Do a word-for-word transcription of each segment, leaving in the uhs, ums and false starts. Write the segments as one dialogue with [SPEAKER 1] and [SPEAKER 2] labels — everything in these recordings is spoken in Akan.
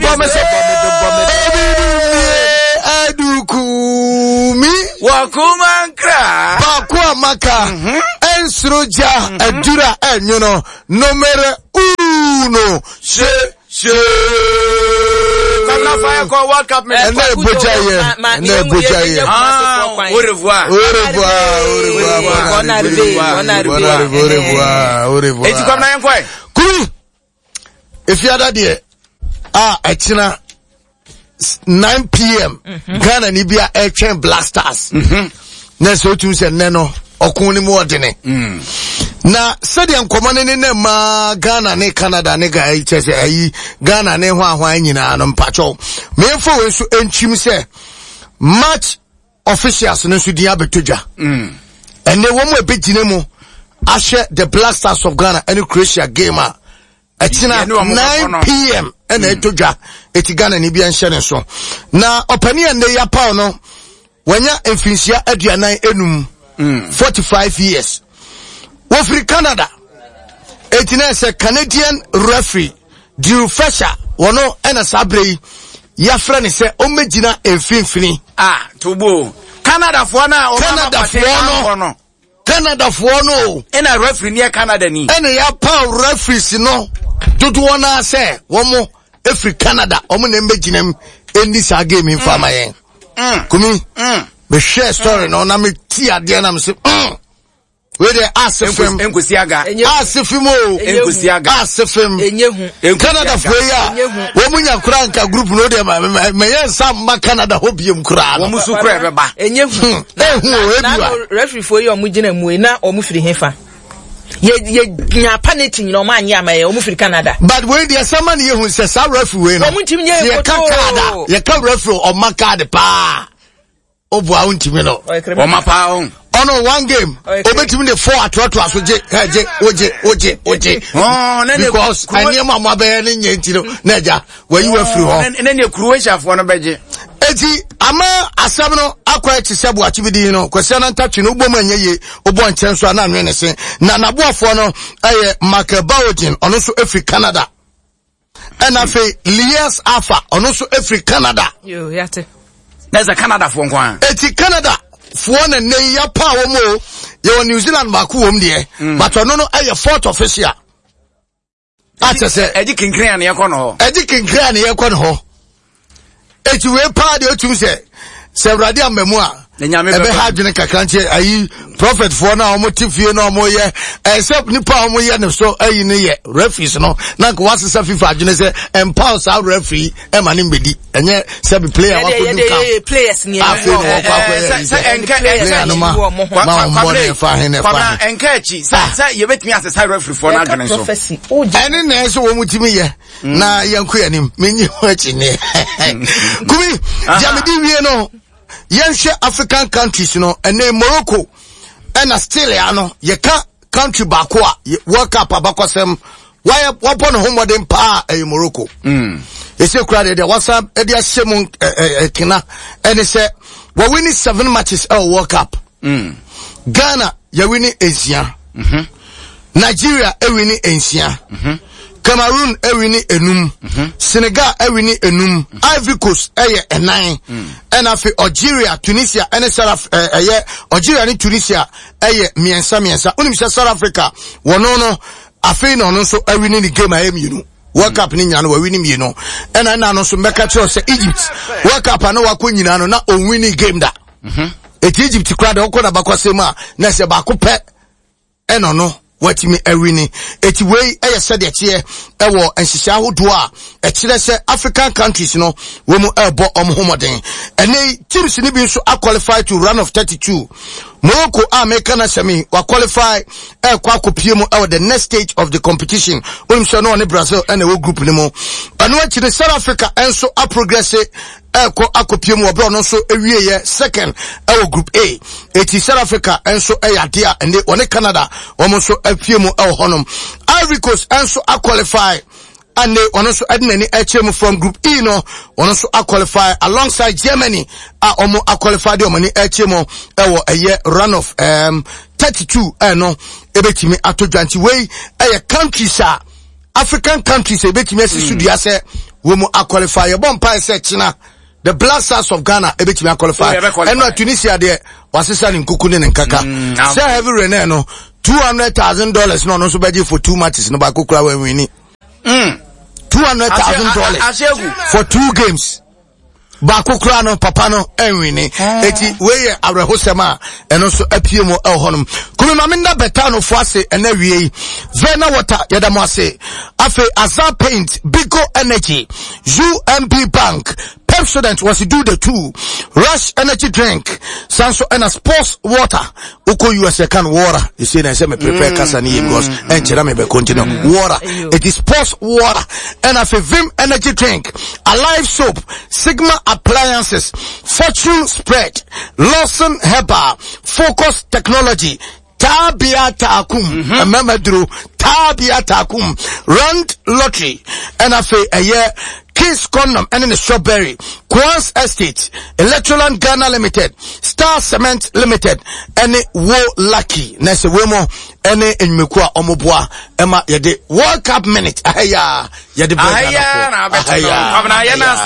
[SPEAKER 1] Bɔ me so. Adukumi.
[SPEAKER 2] Wakuma nkra.
[SPEAKER 1] Baako a maka. Ɛnsoro gya adura ɛnwono. Numero uno.
[SPEAKER 2] Se se. Kwabena fa yɛ kɔ World Cup mi.
[SPEAKER 1] Ɛnna ebogya yɛ. Ɛnna ebogya yɛ.
[SPEAKER 2] Ah, au revoir.
[SPEAKER 1] Au revoir, au revoir.
[SPEAKER 3] Bon arrivé, bon arrivé.
[SPEAKER 1] Bon arrivé, au revoir, au revoir.
[SPEAKER 2] Eti Kwabena yɛn kɔ yɛ.
[SPEAKER 1] Kumi. Efiada deɛ a ɛkyina nine pm Ghana ni bi a ɛtwɛn Black Stars. Na sɛ otum sɛ nnɛ no ɔko ne mu ɔdene. Na sɛdeɛ nkɔmɔ ne ne nam maa Ghana ne Canada ne ga kyɛ sɛ ayi Ghana ne ho ahoa nyinaa no, mpakyɛw. Mmeɛmfa wei nso nkyim sɛ match officials no nso din abɛtɔ dwa. Ɛnɛ wɔn mu a ɛbɛgyina mu ahyɛ the Black Stars of Ghana ɛne Croatia game a ɛkyina
[SPEAKER 2] Yɛne wɔn bɛbɔ no.
[SPEAKER 1] nine pm ɛna ɛtɔ dwa, eti Ghana ni bi nhyɛ ne so. Na ɔpanin a nnɛ yi apaw no, wanya mfinhyia aduanan enum, forty-five years, wofiri Canada, eti na ɛsɛ Canadian referee Drew Fletcher, wɔno ɛna saa bere yi yɛafrɛ ne sɛ ɔmmɛgyina mfimfini.
[SPEAKER 2] Ah, tobo. Canada foɔ na ɔmo ama
[SPEAKER 1] Canada foɔ no.
[SPEAKER 2] no.
[SPEAKER 1] Canadafoɔ no o.
[SPEAKER 2] Ɛna referee ni yɛ Canada ni.
[SPEAKER 1] Ɛna yɛapaw referees no dodoɔ no sɛ wɔn efiri Canada, wɔn na mbɛgyina mu ɛnni saa game yi nfa ama yɛn.
[SPEAKER 2] Mm.
[SPEAKER 1] Kumi,
[SPEAKER 2] Mm.
[SPEAKER 1] mehwɛ story no na meti adeɛ na mese mm wei deɛ ase fam.
[SPEAKER 2] Nkosi aga.
[SPEAKER 3] Enye-
[SPEAKER 1] Ase fam o.
[SPEAKER 3] Enye hu.
[SPEAKER 2] Nkosi aga.
[SPEAKER 1] Ase fam.
[SPEAKER 3] Enye hu.
[SPEAKER 2] Nkosi
[SPEAKER 1] Canada
[SPEAKER 2] aga.
[SPEAKER 1] foɔ yi a
[SPEAKER 3] Enye hu.
[SPEAKER 1] wɔn mu nya kora nka group no deɛ ma ma ma yɛn nsa mma Canada hɔ biem koraa no.
[SPEAKER 2] Wɔn so kura ɛbɛba.
[SPEAKER 3] Enye hu.
[SPEAKER 1] Hmm, ehu o, ebi
[SPEAKER 3] Na
[SPEAKER 1] wa.
[SPEAKER 3] no referee foɔ yi a ɔmo gyina mu yi na ɔmo firi hefa? Yɛ yɛ nya penalty nyina ɔmo anyɛ ama yɛ, ɔmo firi Canada.
[SPEAKER 1] But wei deɛ sɛma ne yɛhu sɛ saa referee wei no,
[SPEAKER 3] Wɔn ntumi nyɛ
[SPEAKER 1] sɛ yɛka
[SPEAKER 3] koto.
[SPEAKER 1] card a, yɛka referee ɔma card paa, ɔboa wo ntumi no.
[SPEAKER 3] Ɔyɛ criminal.
[SPEAKER 2] Wɔn apa ho.
[SPEAKER 1] Ɔno one game
[SPEAKER 3] Ɔyɛ
[SPEAKER 1] obetumi de four atoatoa so, gye ɛ gye wogye wogye wogye.
[SPEAKER 2] Ɔɔ, ne ne
[SPEAKER 1] Because
[SPEAKER 2] Kuro-
[SPEAKER 1] nneɛma a mo abɛyɛ ne nyɛ nti no na agya wayi wa firi hɔ.
[SPEAKER 2] Ne ne Croatia foɔ no bɛgye.
[SPEAKER 1] Eti ama asɛm no akɔ akyi sɛ buakye bi din no Kwasi Anantatwi no, wobɔ mu anyɛ yie, wobɔ nkyɛn so a na anwene ne se. Na n'aboafoɔ no ɛyɛ Michael Bawogin, ɔno nso efiri Canada, ɛna afei Lias Afa, ɔno nso efiri Canada.
[SPEAKER 3] Yo, yate.
[SPEAKER 2] Na sɛ Canada foɔ nko ara.
[SPEAKER 1] Eti Canada foɔ na nne yi yapa wɔn o. Yɛwɔ New Zealand baako wɔm deɛ, but ɔno no ɛyɛ fourth official akyɛ sɛ
[SPEAKER 2] Ɛgye kinkrin a ne yɛkɔ no hɔ.
[SPEAKER 1] Ɛgye kinkrin a ne yɛkɔ ne hɔ. Eti wei paa deɛ, otum sɛ sɛ Awurade ama mu a
[SPEAKER 2] Na Nyame bɛba.
[SPEAKER 1] ɛbɛha adwene kakra. Nkyɛn ayi prophet foɔ no a wɔn te fie na wɔn yɛ ɛsɛ nipa a wɔn yɛ ne so ayi ne yɛ referees no, na nka wasesa FIFA adwene sɛ ɛmpaw saa referee ɛma ne mbɛdi, ɛnyɛ sɛbi player
[SPEAKER 3] Yɛde
[SPEAKER 1] wakɔdu
[SPEAKER 3] yɛde
[SPEAKER 1] camp
[SPEAKER 3] yɛ players ni.
[SPEAKER 1] Afei na wɔkɔ akɔyɛ
[SPEAKER 2] Sɛ
[SPEAKER 1] yi
[SPEAKER 2] sɛ
[SPEAKER 1] sɛ
[SPEAKER 2] ɛnkɛ
[SPEAKER 3] players
[SPEAKER 1] player no ma
[SPEAKER 3] wɔ mo ho.
[SPEAKER 1] ma wɔn bɔ ne ɛfa he ne ɛfa
[SPEAKER 2] Kwabena
[SPEAKER 1] he.
[SPEAKER 2] ɛnka akyi sɛ sɛ yɛbɛtumi asesa referee foɔ no
[SPEAKER 3] Yɛka
[SPEAKER 2] adwene so.
[SPEAKER 3] prophecy. O gye.
[SPEAKER 1] Ɛne na ɛsɛ wɔn tumi yɛ na yɛnko yɛn anim. Menyi ho akyi neɛ kumi deɛ mede wie no, yɛnhwɛ African countries no. Ɛnɛ Morocco ɛna still ya no, yɛka country baako a yɛ- World Cup abakɔsɛm wayɛ wabɔ ne ho mmɔden paa, ɛyɛ Morocco. Ɛsɛ kura deɛ deɛ wasan ɛde ahyɛ mu ɛ- ɛ- ɛkena ɛne sɛ wɔwin seven matches ɛwɔ World Cup. Ghana yɛwin nsia, Nigeria ewin nsia, Cameroon ewin enum, Senegal ewin enum, Ivory Coast ɛyɛ ɛnan, ɛna afei Algeria, Tunisia ɛne South ɛɛ ɛyɛ Algeria ne Tunisia ɛyɛ mmiɛnsa mmiɛnsa. Onim sɛ South Africa wɔno no, afei na ɔno nso ewin ne game a ɛyɛ mmienu. World Cup ne nyinaa no wɔwin mmienu. Ɛna ɛna no nso mbɛka kyerɛw sɛ Egypt World Cup a na wakɔ nyinaa no na ɔnwin game da. Eti Egypt kora deɛ, ɔkɔ n'abakɔsɛm mu a na ɛsɛ baako pɛ ɛna ɔno watumi awin. Eti wei ɛyɛ sɛdeɛ teɛ ɛwɔ nhyehyɛ ahodoɔ a ɛkyerɛ sɛ African countries no wɔn mu ɛrebɔ wɔn ho mmɔden. Ɛnɛ yi teams no bi nso aqualify to round of thirty-two. Morocco a meka na sɛm yi, waqualify ɛrekɔ akɔpie mu ɛwɔ the next stage of the competition. Onim sɛ ɔno ɔne Brazil ɛna ɛwɔ group no mu. Ɛno akyi no, South Africa ɛnso aprogress ɛrekɔ akɔpie mu wɔ berɛ ɔno nso awieɛ second ɛwɔ Group A. Eti South Africa nso ɛyɛ adeɛ a ɛnde wɔne Canada wɔn nso apue mu ɛwɔ hɔnom. Ivory Coast nso aqualify ane ɔno nso ɛde n'ani ɛkyerɛ mu from Group E no, ɔno nso aqualify alongside Germany a wɔn aqualify de wɔn ani ɛkyerɛ mu ɛwɔ ɛyɛ round of um, thirty two. Ɛno ebetumi ato dwa. Nti wei ɛyɛ countries a, African countries a ebetumi asi so dua sɛ Wɔn mu aqualify. Yɛbɔ mpae sɛ kyena the Black Stars of Ghana ebetumi aqualify. Ɛno a Tunisia deɛ wasesa ne nkuku ne ne nkaka. Sɛ Hervé Renard no two hundred thousand dollars na ɔno nso bɛgye for two matches no baako kura wɔn wini. Two hundred thousand dollars for two games. Baako kura no papa no ɛnwini. Eti wei yɛ awerɛhosɛm a ɛno nso apue mu ɛwɔ hɔnom. Kumi maame nda bɛta no fo ase ɛnɛ wie yi. Vena water yɛda mo ase. Afei Azar Paint, Bigo Energy, U M B Bank, Pepsodent was do the two, Rush Energy Drink, Sanso and Sports Water. Uko U S A can water. You see, I say me prepare mm, kasa ni because mm, enchera me be continue mm, water. It is sports water and a Vim Energy Drink, Alive Soap, Sigma Appliances, Fortune Spread, Lawson Herbal, Focus Technology, Tabia Takum, Mamadru, Tabia Takum, Rand Lottery, and a a year. Kiss Condom and in the Strawberry, Quans Estate, Electroland Ghana Limited, Star Cement Limited, any Wo Lucky, Nese Wemo, any Enyumekua Omoboa, Emma Yede World Cup Minute, Ahaya, Yede
[SPEAKER 2] Ahaya, Ahaya,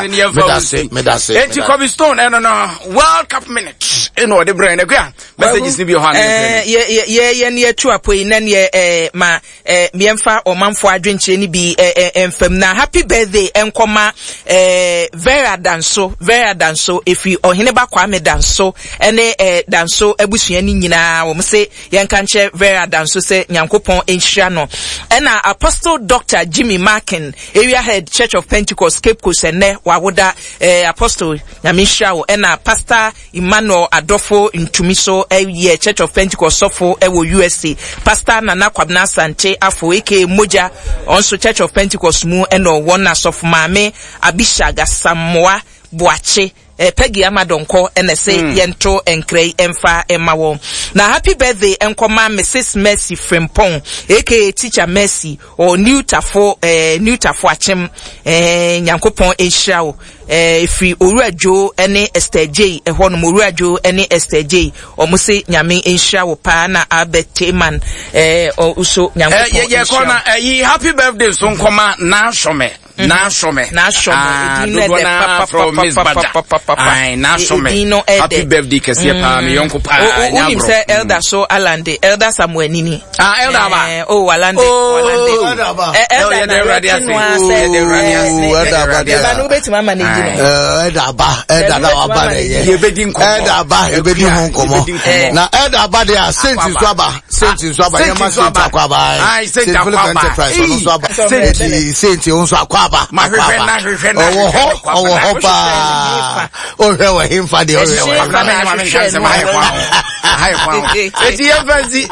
[SPEAKER 2] Medase, Medase, Eti Kobe Stone, eh no no, World Cup Minute, eh no, the brain, eh, messages ni bi ho
[SPEAKER 3] eh ye ye ye ne etu apoi na ne eh ma eh miemfa omanfo adwenkyere ni bi eh emfam na happy birthday enkoma eh Vera Danso Vera Danso efi ohene ba Kwame Danso ene eh Danso abusua ni nyina wo se yenka nche Vera Danso se Nyankopon enhira no ena Apostle Doctor Jimmy Markin Area Head Church of Pentecost Cape Coast ene wawoda eh Apostle Nyame nhira wo ena Pastor Emmanuel Adolfo Ntumiso eh Church of Pentecost sofo ewo U S A Pastor Nana Kwabena Sante Afo aka Moja onso Church of Pentecost mu eno wona sofo maame Abishaga Samoa Boache eh, Peggy Amadonko ene se mm. yento enkrei emfa emawo na happy birthday enkoma Missus Mercy Frimpong aka Teacher Mercy or New Tafo eh, New Tafo Achem eh, Nyankopon enhira wo eh, free Owura Joe ene Esther J eho no Owura Joe ene Esther J omo se Nyame enhira wo pa na Albert Teman eh uso Nyankopon
[SPEAKER 2] eh, ye ye eh, happy birthday so nkoma na shome na shome
[SPEAKER 3] na shome
[SPEAKER 2] edin na from Miss Baja ai na shome happy birthday kese pa me yonko pa
[SPEAKER 3] nyabro unim se elder so Alande elder Samuel Nini
[SPEAKER 2] ah elder ba
[SPEAKER 3] oh Alande
[SPEAKER 1] elder ba
[SPEAKER 3] elder na
[SPEAKER 1] elder ba
[SPEAKER 3] elder no beti mama na edin
[SPEAKER 1] elder ba elder na wa ba na ye
[SPEAKER 2] ye bedi nkomo
[SPEAKER 1] elder ba ye bedi ho nkomo na elder ba there saint so aba saint so aba ye ma saint akwa ba
[SPEAKER 2] ai saint akwa ba
[SPEAKER 1] enterprise so aba saint saint so akwa ba ɔwɔ hɔ ɔwɔ hɔ paa ɔhwɛ wɔ hemfa deɛ ɔhwɛ wɔ
[SPEAKER 2] eti yɛmfa nsi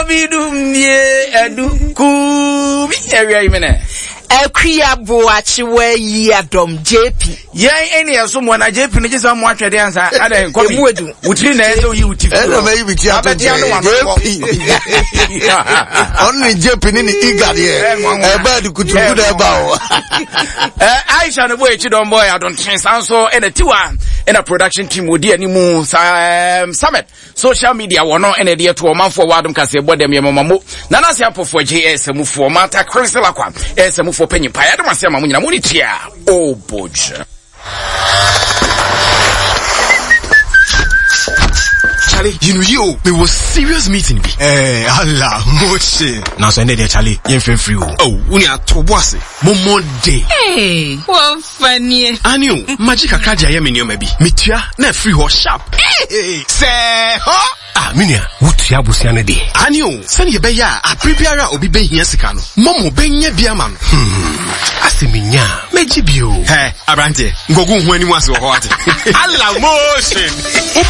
[SPEAKER 2] obi dum nie adu kumi awia yi mene
[SPEAKER 3] Akuya Boachi we yi adom J P
[SPEAKER 2] yɛn ɛne ɛso mo na J P no gye sɛ mo atwɛde ansa ada nkɔmi wotiri na ɛsɛ oyi woti
[SPEAKER 1] fi ɛna mɛyi bi ti ato J P ɔno ne J P ne ne iga deɛ ɛbaa de kuturuku na ɛba o
[SPEAKER 2] Aisha no boy ekyi dɔn boy adonten sanso ɛna tiwa ɛna production team odi animu summit social media wono ene de to omanfo wadom kase bodem ye mamamo na na se apofo J S mufo mata Crystal akwa S mufo panyin pa ya de mase ma munyina muni tia oboje.
[SPEAKER 4] Charlie, you know you me was serious meeting bi.
[SPEAKER 5] Eh, Allah, moche.
[SPEAKER 4] Na so ene de Charlie, yen free free o. Oh, uni atobo ase. Mo Monday.
[SPEAKER 6] Hey, what funny.
[SPEAKER 4] Ani o, magic akra ye me nioma bi. Metua na free ho sharp. Hey, say ho. Ah, minia, wutua busia ne de. Ani o, sani ye be ya aprebiara obi be hia sika no. Momo be nya bia ma no. Hmm. Aseminya, meji bi o. Hey, abrante, ngogu hu ani mu ase wo ho ate. Allah motion.